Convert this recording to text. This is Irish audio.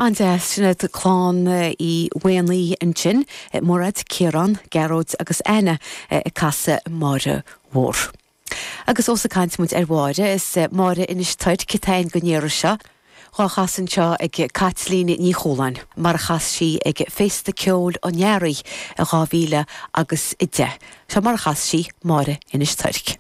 An-deas, sin iad clann Uí Mhaonaigh ansin, Mairéad, Ciarán, Gearóid agus Anna ag casadh Máire Mhór. Agus ós ag caint muid ar Mháire, is Máire Inis Toirc atá againn don iarraidh seo, dhá chasadh anseo ag Caitlín Ní Chualáin, mar a chas sí ag Féasta Ceoil an Earraigh i 2010. Seo mar a chas sí Máire Inis Toirc.